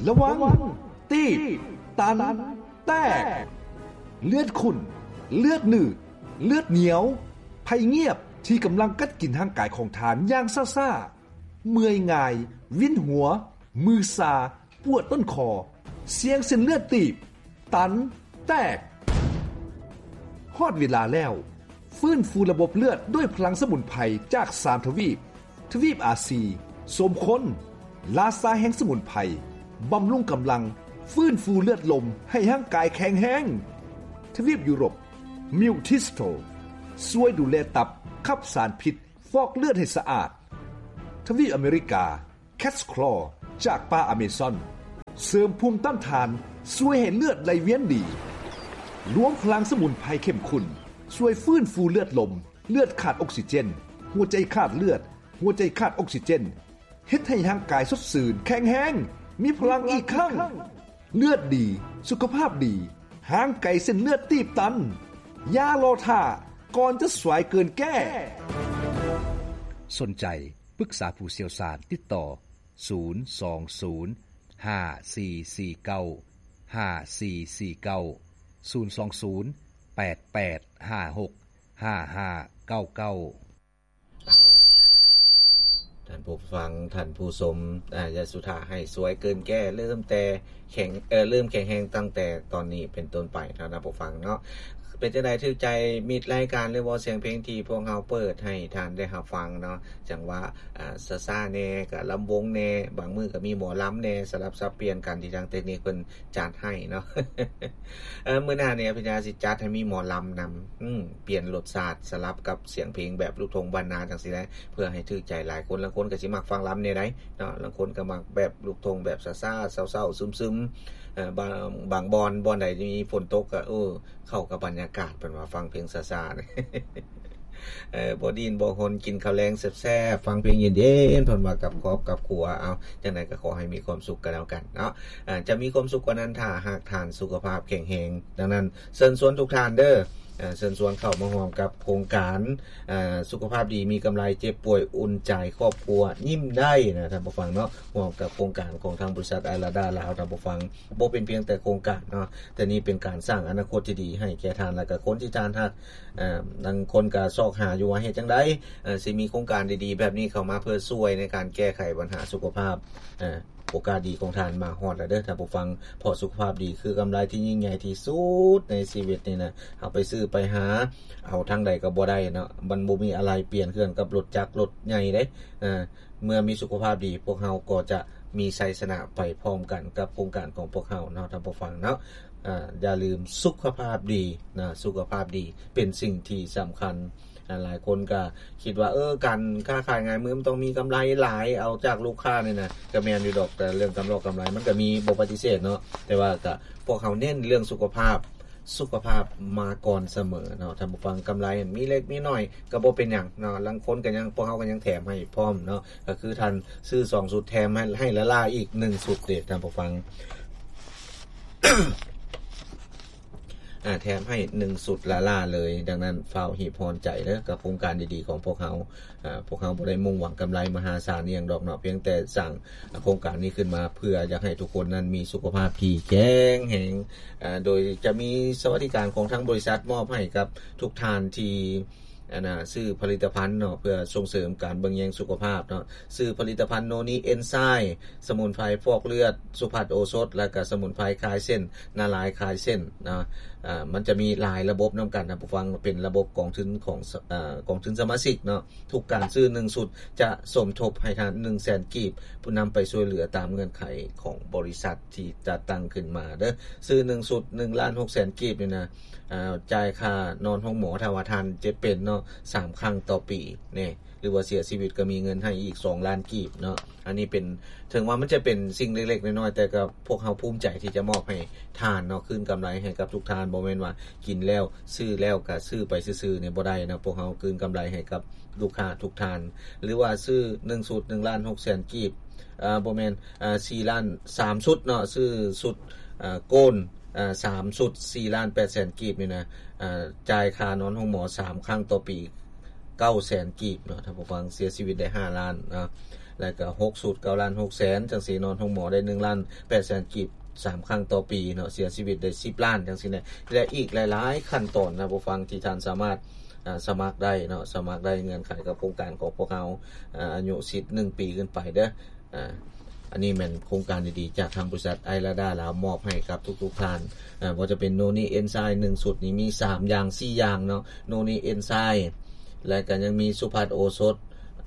ລະວັງ ຕີບ ຕັນ ແຕກ ເລືອດຂຸ້ນ ເລືອດໜືດ ເລືອດໜຽວ ໄພງຽບທີ່ກຳລັງກັດກິນຮ່າງກາຍຂອງທ່ານຢ່າງຊ້າໆ, ເມື່ອຍງ່າຍ, ວິນຫົວ, ມືຊາ, ປວດຕົ້ນຄໍ, ສ່ຽງເສັ້ນເລືອດຕີບ, ຕັນ, ແຕກ. ຮອດເວລາແລ້ວ, ຟື້ນຟູລະບົບເລືອດດ້ວຍພະລັງສະໝຸນໄພຈາກສາມທະວີບ, ທະວີບອາຊີ, ສົມຄົນ, ລາຊາແຫ່ງສະໝຸນໄພ, ບຳລຸງກຳລັງ, ຟື້ນຟູເລືອດລົມໃຫ້ຮ່າງກາຍແຂງແຮງ. ທະວີບຢູໂຣບ, ມິວທິສໂຕ, ຊ່ວຍດູແລຕັບ, ຂັບສານພິດ, ຟອກເລືອດໃຫ້ສະອາດ. ທະວີບອາເມລິກາ, ແຄດສະຄລໍຈາກປ່າອາເມຊອນ ເສີມພູມຕ້ານທານ, ຊ່ວຍໃຫ້ເລືອດໄຫຼວຽນດີ. ລວມພະລັງສະໝຸນໄພເຂັ້ມຂຸ້ນ ຊ່ວຍຟື້ນຟູເລືອດລົມ, ເລືອດຂາດອົກຊີເຈນ, ຫົວໃຈຂາດເລືອດ, ຫົວໃຈຂາດອົກຊີເຈນ, ເຮັດໃຫ້ຮ່າງກາຍສົດຊື່ນ, ແຂງແຮງ, ມີພະລັງອີກຄັ້ງ. ເລືອດດີ, ສຸຂະພາບດີ, ຫ່າງໄກເສັ້ນເລືອດຕີບຕັນ. ຢ່າລໍຖ້າ, ກ່ອນຈະສວຍເກີນແກ້. ສົນໃຈ ປຶກສາຜູ້ຊ່ຽວຊານ, ຕິດຕໍ່ ສູນສອງສູນ ຫ້າສີ່ສີ່ເກົ້າ ຫ້າສີ່ສີ່ເກົ້າ ສູນສອງສູນ ແປດແປດຫ້າຫົກ ຫ້າຫ້າເກົ້າເກົ້າ. ທ່ານຜູ້ຟັງ, ທ່ານຜູ້ຊົມ, ອາ, ຢ່າສຸທ່າໃຫ້ສວຍເກີນແກ້, ເລີ່ມແຕ່ ແຂງ, ເອີ, ເລີ່ມແຂງແຮງຕັ້ງແຕ່ຕອນນີ້ເປັນຕົ້ນໄປເນາະ ທ່ານຜູ້ຟັງເນາະ. ເປັນຈັ່ງໃດ ຖືກໃຈມິດລາຍການ ຫຼືວ່າສຽງເພງທີ່ພວກເຮົາເປີດໃຫ້ທ່ານໄດ້ຮັບຟັງເນາະ? ຈັງຫວະ, ອາ, ຊ້າໆແດ່, ກະລຳວົງແດ່, ບາງມື້ກະມີໝໍລຳແດ່, ສະຫຼັບສັບປ່ຽນກັນທີ່ທາງເຕັກນິກເພິ່ນຈັດໃຫ້ເນາະ. ເອີ, ມື້ໜ້ານີ້ອະພິນຍາຊິຈັດໃຫ້ມີໝໍລຳນຳ, ອືມ, ປ່ຽນລົດຊາດ ສະຫຼັບກັບສຽງເພງແບບລູກທົ່ງບ້ານນາຈັ່ງຊີ້ແຫຼະ, ເພື່ອໃຫ້ຖືກໃຈຫຼາຍຄົນ. ລາງຄົນກະຊິມັກຟັງລຳແນວໃດເນາະ, ລາງຄົນກະມັກແບບລູກທົ່ງແບບຊ້າໆ ເສົ້າໆຊຶມໆ. ເອີ ບາງ, ບາງບ່ອນ, ບ່ອນໃດທີ່ມີຝົນຕົກກໍ, ເອີ, ເຂົ້າກັບບັນຍາກາດ, ເພິ່ນວ່າຟັງເພງຊ້າໆ ເອີ, ບໍ່ດິ້ນບໍ່ຮົນ, ກິນເຂົ້າແລງແຊບໆ, ຟັງເພງເຢັນໆ, ເພິ່ນວ່າກັບຄອບກັບຄົວ. ເອົາ, ຈັ່ງໃດກໍຂໍໃຫ້ມີຄວາມສຸກກໍແລ້ວກັນເນາະ. ເອີ, ຈະມີຄວາມສຸກກວ່ານັ້ນ ຖ້າຫາກທ່ານສຸຂະພາບແຂງແຮງ. ດັ່ງນັ້ນ, ເຊີນຊວນທຸກທ່ານເດີ້, ເຊີນຊວນເຂົ້າມາຮ່ວມກັບໂຄງການ ເອີ ສຸຂະພາບດີມີກຳໄລ, ເຈັບປ່ວຍອຸ່ນໃຈ, ຄອບຄົວຍິ້ມໄດ້ນະ ທ່ານຜູ້ຟັງເນາະ. ຮ່ວມກັບໂຄງການຂອງທາງບໍລິສັດໄອລາດາລາວ ທ່ານຜູ້ຟັງ, ບໍ່ເປັນພຽງແຕ່ໂຄງການເນາະ, ແຕ່ນີ້ເປັນການສ້າງອະນາຄົດທີ່ດີໃຫ້ແກ່ທ່ານ ແລະກະຄົນທີ່ທ່ານຮັກ. ເອີ ບາງຄົນກະຊອກຫາຢູ່ວ່າເຮັດຈັ່ງໃດ ເອີ ຊິມີໂຄງການດີໆແບບນີ້ເຂົ້າມາເພື່ອຊ່ວຍໃນການແກ້ໄຂບັນຫາສຸຂະພາບ. ເອີ ໂອກາດດີຂອງທ່ານມາຮອດແລ້ວເດີ້ ທ່ານຜູ້ຟັງ, ເພາະສຸຂະພາບດີຄືກຳໄລທີ່ຍິ່ງໃຫຍ່ທີ່ສຸດໃນຊີວິດນີ້ນະ. ເຮົາໄປຊື້ໄປຫາເອົາທາງໃດກໍບໍ່ໄດ້ເນາະ, ມັນບໍ່ມີອາໄຫຼ່ປ່ຽນເຄື່ອງກັບລົດຈັກລົດໃຫຍ່ເດ້. ເອີ ເມື່ອມີສຸຂະພາບດີ, ພວກເຮົາກໍຈະມີໄຊຊະນະໄປພ້ອມກັນກັບໂຄງການຂອງພວກເຮົາເນາະ ທ່ານຜູ້ຟັງເນາະ. ອາ, ຢ່າລືມສຸຂະພາບດີນະ, ສຸຂະພາບດີເປັນສິ່ງທີ່ສຳຄັນ. ອາ, ຫຼາຍຄົນກໍຄິດວ່າ, ເອີ, ການຄ້າຂາຍງາຍມືມັນຕ້ອງມີກຳໄລຫຼາຍ ເອົາຈາກລູກຄ້ານີ້ນະ, ກໍແມ່ນຢູ່ດອກ, ແຕ່ເລື່ອງກຳລອກກຳໄລມັນກໍມີ, ບໍ່ປະຕິເສດເນາະ, ແຕ່ວ່າກໍພວກເຮົາເນັ້ນເລື່ອງສຸຂະພາບ, ສຸຂະພາບມາກ່ອນສະເໝີເນາະ ທ່ານຜູ້ຟັງ. ກຳໄລມີເລັກມີໜ້ອຍກໍບໍ່ເປັນຫຍັງເນາະ, ລາງຄົນກໍຍັງ, ພວກເຮົາກໍຍັງແຖມໃຫ້ພ້ອມເນາະ, ກໍຄືທ່ານຊື້ສອງຊຸດ ແຖມໃຫ້, ໃຫ້ລ້າໆອີກໜຶ່ງຊຸດເດ ທ່ານຜູ້ຟັງ. ອາ, ແຖມໃຫ້ໜຶ່ງຊຸດລ້າໆເລີຍ. ດັ່ງນັ້ນ ຟ້າວຮີບຮ້ອນໃຈເດີ້ ກັບໂຄງການດີໆຂອງພວກເຮົາ. ອາ, ພວກເຮົາບໍ່ໄດ້ມຸ່ງຫວັງກຳໄລມະຫາສານອີ່ຫຍັງດອກເນາະ, ພຽງແຕ່ສ້າງໂຄງການນີ້ຂຶ້ນມາ ເພື່ອຢາກໃຫ້ທຸກຄົນນັ້ນມີສຸຂະພາບທີ່ແຂງແຮງ. ອາ, ໂດຍຈະມີສະຫວັດດີການຂອງທາງບໍລິສັດມອບໃຫ້ກັບທຸກທ່ານທີ່ ອັນນ່າ ຊື້ຜະລິດຕະພັນເນາະ ເພື່ອສົ່ງເສີມການເບິ່ງແຍງສຸຂະພາບເນາະ. ຊື້ຜະລິດຕະພັນໂນນີເອັນໄຊມ໌ ສະໝຸນໄພຟອກເລືອດ ສຸພັດໂອສົດ ແລະກະສະໝຸນໄພຄາຍເສັ້ນ ນາລາຍຄາຍເສັ້ນເນາະ. ອາ ມັນຈະມີຫຼາຍລະບົບນຳກັນນະ ຜູ້ຟັງ, ເປັນລະບົບກອງທຶນຂອງ ອາ ກອງທຶນສະມາຊິກເນາະ. ທຸກການຊື້ໜຶ່ງຊຸດຈະສົມທົບໃຫ້ທ່ານໜຶ່ງແສນກີບ ເພື່ອນຳໄປຊ່ວຍເຫຼືອຕາມເງື່ອນໄຂຂອງບໍລິສັດທີ່ຈັດຕັ້ງຂຶ້ນມາເດີ້. ຊື້ໜຶ່ງຊຸດໜຶ່ງລ້ານຫົກແສນກີບນີ້ນະ, ອາ ຈ່າຍຄ່ານອນໂຮງໝໍ ຖ້າວ່າທ່ານເຈັບເປັນເນາະ ສາມຄັ້ງຕໍ່ປີນີ້ ຫຼືວ່າເສຍຊີວິດກໍມີເງິນໃຫ້ອີກສອງລ້ານກີບເນາະ. ອັນນີ້ເປັນ, ເຖິງວ່າມັນຈະເປັນສິ່ງເລັກໆນ້ອຍໆ ແຕ່ກໍພວກເຮົາພູມໃຈທີ່ຈະມອບໃຫ້ທ່ານເນາະ, ຄືນກຳໄລໃຫ້ກັບທຸກທ່ານ. ບໍ່ແມ່ນວ່າກິນແລ້ວ ຊື້ແລ້ວກະຊື້ໄປຊື່ໆນີ້ບໍ່ໄດ້ເນາະ. ພວກເຮົາຄືນກຳໄລໃຫ້ກັບລູກຄ້າທຸກທ່ານ. ຫຼືວ່າຊື້ໜຶ່ງຊຸດໜຶ່ງລ້ານຫົກແສນກີບ, ເອີ ບໍ່ແມ່ນ, ເອີ ສີ່ລ້ານ, ສາມຊຸດເນາະ, ຊື້ຊຸດ, ເອີ ໂກນ, ເອີ ສາມຊຸດສີ່ລ້ານແປດແສນກີບນີ້ນະ, ເອີ ຈ່າຍຄ່ານອນໂຮງໝໍສາມຄັ້ງຕໍ່ປີ ເກົ້າແສນກີບເນາະ ທ່ານຜູ້ຟັງ, ເສຍຊີວິດໄດ້ຫ້າລ້ານເນາະ. ແລ້ວກໍຫົກຊຸດ ເກົ້າລ້ານຫົກແສນ ຈັ່ງຊີ້ ນອນໂຮງໝໍໄດ້ ໜຶ່ງລ້ານແປດແສນກີບ ສາມຄັ້ງຕໍ່ປີເນາະ ເສຍຊີວິດໄດ້ ສິບລ້ານ ຈັ່ງຊີ້ນະ ແລະ ອີກຫຼາຍໆຂັ້ນຕອນນະ ຜູ້ຟັງ ທີ່ທ່ານສາມາດ ອ່າ ສະໝັກໄດ້ເນາະ ສະໝັກໄດ້ ເງື່ອນໄຂກັບໂຄງການຂອງພວກເຮົາ ອ່າ ອາຍຸສິດ ໜຶ່ງປີຂຶ້ນໄປເດີ້. ອ່າ ອັນນີ້ແມ່ນໂຄງການດີໆ ຈາກທາງບໍລິສັດໄອລາດາລາວ ມອບໃຫ້ກັບທຸກໆທ່ານ ອ່າ ບໍ່ວ່າຈະເປັນໂນນີເອັນໄຊ ໜຶ່ງຊຸດນີ້ມີສາມຢ່າງ ສີ່ຢ່າງເນາະ ໂນນີເອັນໄຊ ແລະ ກໍຍັງມີສຸພັດໂອສົດ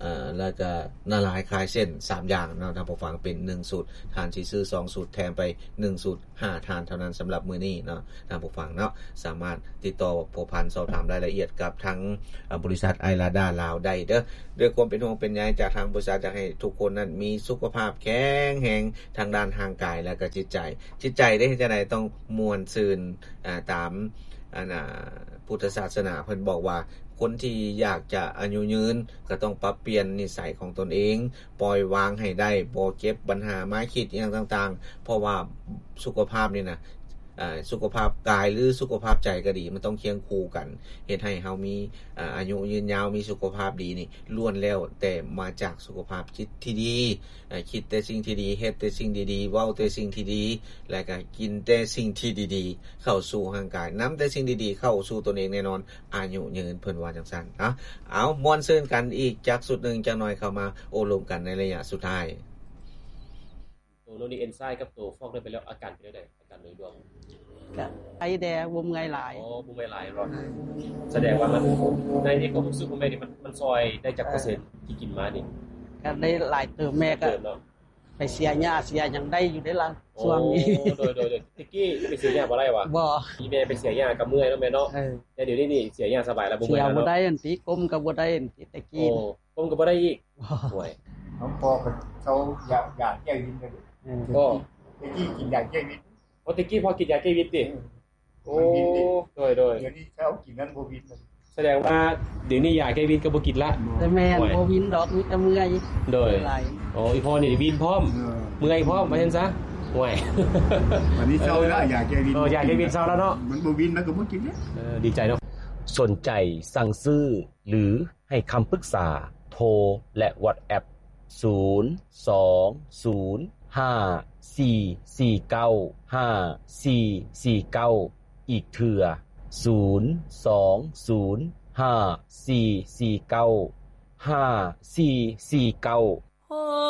ເອີ ແລ້ວກະນາລາຍຄາຍເສັ້ນ ສາມຢ່າງເນາະ ທ່ານຜູ້ຟັງ ເປັນໜຶ່ງຊຸດ ທ່ານຊິຊື້ສອງຊຸດ ແຖມໄປໜຶ່ງຊຸດ ຫ້າທ່ານເທົ່ານັ້ນ ສຳລັບມື້ນີ້ເນາະ ທ່ານຜູ້ຟັງເນາະ ສາມາດຕິດຕໍ່ພົວພັນສອບຖາມລາຍລະອຽດກັບທາງ ເອີ ບໍລິສັດໄອລາດາລາວໄດ້ເດີ້ ດ້ວຍຄວາມເປັນຫ່ວງເປັນໃຍຈາກທາງບໍລິສັດ ຢາກໃຫ້ທຸກຄົນນັ້ນມີສຸຂະພາບແຂງແຮງທາງດ້ານຮ່າງກາຍ ແລະກະຈິດໃຈ ຈິດໃຈເດ້ ເຮັດຈັ່ງໃດຕ້ອງມ່ວນຊື່ນ ອ່າ ຕາມ ອັນ ອ່າ ພຸດທະສາສະໜາ ເພິ່ນບອກວ່າ ຄົນທີ່ຢາກຈະອາຍຸຍືນ ກໍຕ້ອງປັບປ່ຽນນິໄສຂອງຕົນເອງ, ປ່ອຍວາງໃຫ້ໄດ້, ບໍ່ເກັບບັນຫາມາຄິດອີ່ຫຍັງຕ່າງໆ ເພາະວ່າສຸຂະພາບນີ້ນະ ເອີ ສຸຂະພາບກາຍ ຫຼື ສຸຂະພາບໃຈກໍດີ ມັນຕ້ອງຄຽງຄູ່ກັນ ເຮັດໃຫ້ເຮົາມີ ເອີ ອາຍຸຍືນຍາວ, ມີສຸຂະພາບດີນີ້ ລ້ວນແລ້ວແຕ່ມາຈາກສຸຂະພາບຈິດທີ່ດີ. ເອີ ຄິດແຕ່ສິ່ງທີ່ດີ, ເຮັດແຕ່ສິ່ງທີ່ດີ, ເວົ້າແຕ່ສິ່ງທີ່ດີ ແລະກະກິນແຕ່ສິ່ງທີ່ດີໆ ເຂົ້າສູ່ຮ່າງກາຍ, ນຳແຕ່ສິ່ງດີໆ ເຂົ້າສູ່ຕົນເອງແນ່ນອນ ອາຍຸຍືນ ເພິ່ນວ່າຈັ່ງຊັ້ນເນາະ. ເອົາ ມ່ວນຊື່ນກັນອີກຈັກຊຸດໜຶ່ງ ຈັກໜ້ອຍເຂົ້າມາໂອ້ລົມກັນໃນໄລຍະສຸດທ້າຍ. ໂຕໂນນີເອັນໄຊກັບໂຕຟອກໄດ້ໄປແລ້ວ ອາການເປັນຈັ່ງໃດ? ການໂດຍລວມ ກະໄອແດ່ ບໍ່ເມື່ອຍຫຼາຍ. ອໍ ບໍ່ເມື່ອຍຫຼາຍເນາະ. ສະແດງວ່າມັນ ໃນ ໃນຄວາມຮູ້ສຶກຂອງແມ່ນີ້ ມັນ ມັນຊ່ອຍໄດ້ຈັກເປີເຊັນທີ່ກິນມານີ້? ກະໄດ້ຫຼາຍເຕີບ. ແມ່ກະໄປເສຍຫຍ້າເສຍຫຍັງໄດ້ຢູ່ເດ້ລະ ຊ່ວງນີ້. ໂອ້ ໂດຍ ໂດຍ ໂດຍ. ແຕ່ກີ້ໄປເສຍຫຍ້າບໍ່ໄດ້ຫວາ? ບໍ່. ອີແມ່ໄປເສຍຫຍ້າກະເມື່ອຍເນາະແມ່ເນາະ. ເອີ ແຕ່ດຽວນີ້ນີ້ເສຍຫຍ້າສະບາຍລະ ບໍ່ເມື່ອຍລະເນາະ. ເສຍບໍ່ໄດ້ອັນຕິ ກົ້ມກະບໍ່ໄດ້ອັນຕິ ແຕ່ກີ້. ໂອ້ ກົ້ມກໍບໍ່ໄດ້ອີກ. ໂອ້ຍ ນ້ອງພໍ່ກໍເຊົາຢາ ຢາແກ້ວິນ. ເອີ ກໍແຕ່ກີ້ກິນຢາແກ້ວິນ. ໂອ້ ແຕ່ກີ້ພໍ່ກິນຢາແກ້ວິນຕິ? ເອີ ໂອ້ ມັນວິນເດ້. ໂດຍ ໂດຍ. ດຽວນີ້ເຊົາກິນນັ້ນບໍ່ວິນ. ສະແດງວ່າດຽວນີ້ຢາແກ້ວິນກໍບໍ່ກິນລະ. ແຕ່ແມ່ນ ໂອ້ຍ ບໍ່ວິນດອກ ມີແຕ່ເມື່ອຍ. ໂດຍ. ໂອ້ ອີພໍ່ນີ້ວິນພ້ອມ ເອີ ເມື່ອຍພ້ອມ ວ່າຊັ້ນຊະ. ໂອ້ຍ ບັດນີ້ເຊົາລະ ຢາແກ້ວິນ. ເອີ ຢາແກ້ວິນເຊົາລະເນາະ. ມັນບໍ່ວິນ ມັນກໍບໍ່ກິນເດ້. ເອີ ດີໃຈເນາະ. ສົນໃຈສັ່ງຊື້ ຫຼື ໃຫ້ຄຳປຶກສາ ໂທ ແລະ WhatsApp ສູນ ສອງ ສູນ ຫ້າ ສີ່ ສີ່ ເກົ້າ ຫ້າ ສີ່ ສີ່ ເກົ້າ ອີກເທື່ອ ສູນ ສອງ ສູນ ຫ້າ ສີ່ ສີ່ ເກົ້າ ຫ້າ ສີ່ ສີ່ ເກົ້າ.